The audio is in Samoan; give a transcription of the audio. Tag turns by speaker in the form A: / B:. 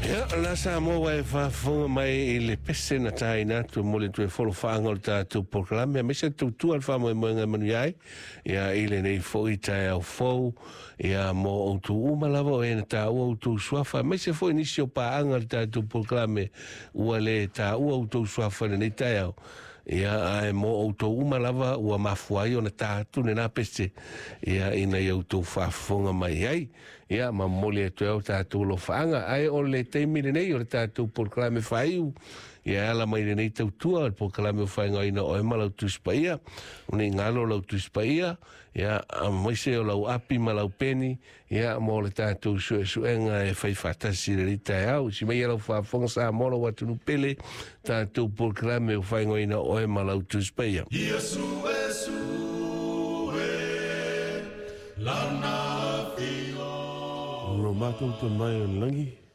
A: Ia, la Samoa ua e faafofoga mai i le pese na taina atu e momoli atu ai folofaaga o le tatou polokalame aemaise le tautua le faamoemoega e manuia ai ia i lenei foi taeao fou ia mo outou uma lava o e na taua outou suafa aemaise foi nisi o paaga o le tatou polokalame ua le taua outou suafa i lenei taeao. Ia, ae mo outou uma lava ua mafua ai ona ta atu lena pese ia ina ia outou faafofoga mai ai. Ia, ma momoli atu ai o tatou alofaaga. Ae o le taimi lenei o le tatou polokalame faaiu, ia e ala mai lenei tautua, o le polokalame o faaigoaina oe ma lau Tusi Paia. O nei galo lau Tusi Paia, ia, aemaise o lau api ma lau peni, ia, mo le tatou suesuega e fai faatasi i lenei taeao. Si mai lau faafofoga Samoa lau atunuu pele, tatou polokalame o faaigoaina oe ma lau Tusi Paia.
B: Ia suesue lana afio.
A: Lo matou Tama i le lagi.